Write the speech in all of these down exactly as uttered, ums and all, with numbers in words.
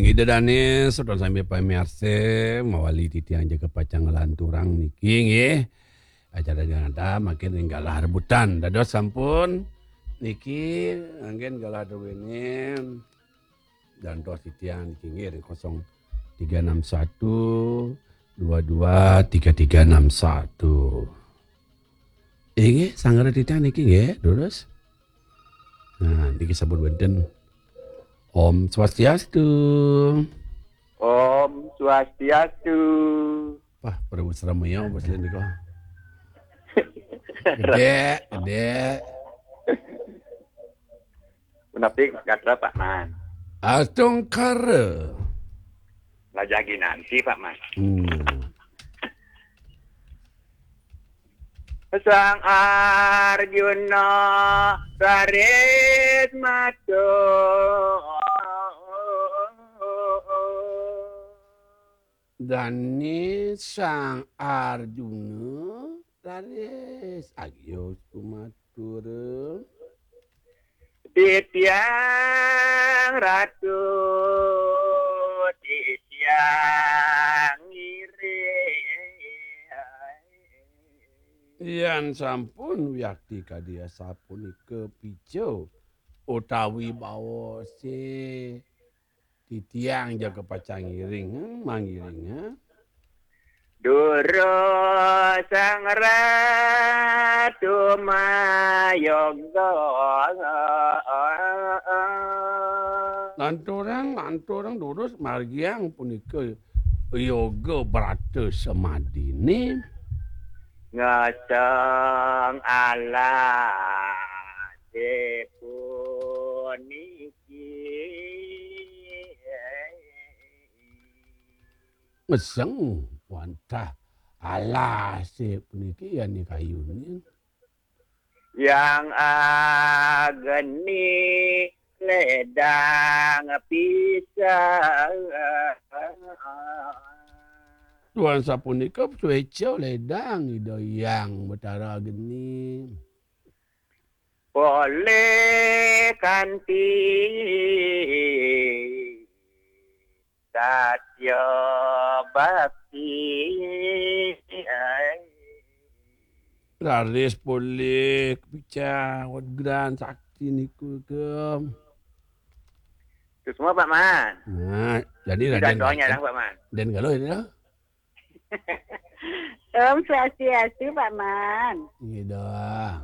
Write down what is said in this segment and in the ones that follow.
Ida dané, saudara sami pamiarsa, mawali titiang jaga pacang nglanturang niki nggih. Acara Janata mangkin ring galah rebutan. Dados sampun niki anggén galah druéné. Jantos titiang niki nggih ring kosong tiga enam satu, dua dua tiga tiga enam satu. Inggih, sangra titiang niki nggih, durus. Nah, niki sampun wénten. Om Swastiastu. Om Swastiastu. Wah, Prabu Sramaya, Bos Lendiko. Gedé, gedé. Punapi gatra, Pak Man? Astungkara. Lajagi nanti, Pak Man. Hmm. Sang Arjuna raris matur. Dané Sang Arjuna raris agios kumatur. Titiang Ratu, titiang ngiring. Yén sampun wiakti kadi asapunika pica utawi bawasé titiang jaga pacang ngiring, hmm, mangiring, ha? Durus Sang Ratu mayoga. Lanturang, lanturang durus margiang punika yoga brata samadiné. Ngeseng alasé puniki. Ngeseng wantah alasé puniki, yané kayuné. Yang ageni ledang pisan. Duaning sapunika suéca ledang Ida Hyang Batara Agni. Polih kanti satya bakti. Raris polih picah wegran sakti niku ke. Itu semua, Pak Man. Nah, jadi Itu Raden doanya Raden, lah, Pak Man. Raden Galuh ini lah. Om Swastiastu, Pak Man. Nggih dah.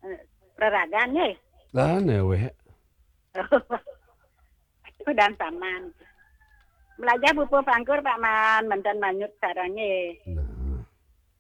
Eh, reragan nggih. Lah, newek. Udan Saman. Melajah pupuh pangkur, Pak Man, manten manyut sarengé.